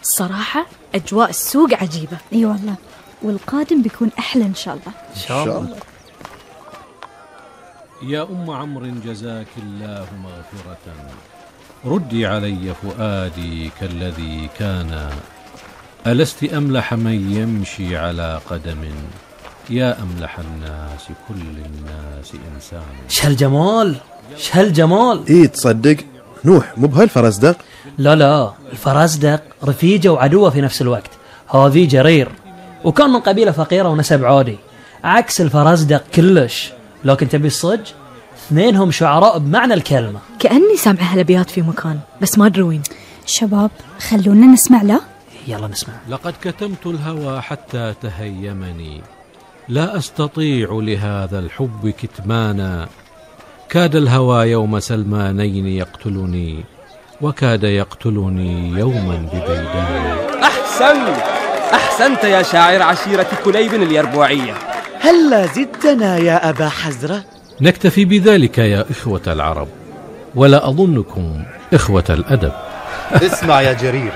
الصراحة أجواء السوق عجيبة. اي والله، والقادم بيكون أحلى إن شاء الله. إن شاء الله. يا أم عمرو جزاك الله مغفرة، ردي علي فؤادي كالذي كان، ألست أملح من يمشي على قدم، يا أملح الناس كل الناس إنسان. شهالجمال شهالجمال. إيه تصدق نوح مو بهالفرزدق؟ لا، الفرزدق رفيجة وعدوة في نفس الوقت. هذه جرير وكان من قبيلة فقيرة ونسب عادي، عكس الفرزدق كلش. لكن تبي الصج، اثنينهم شعراء بمعنى الكلمة. كأني سامعة هالأبيات في مكان بس ما أدري وين. شباب خلونا نسمع له. يلا نسمع. لقد كتمت الهوى حتى تهيمني، لا أستطيع لهذا الحب كتمانا، كاد الهوى يوم سلمانين يقتلني، وكاد يقتلني يوما ببيدان. أحسنت يا شاعر عشيرة كليب اليربوعية. هلا زدتنا يا أبا حزرة. نكتفي بذلك يا إخوة العرب، ولا أظنكم إخوة الأدب. اسمع يا جرير،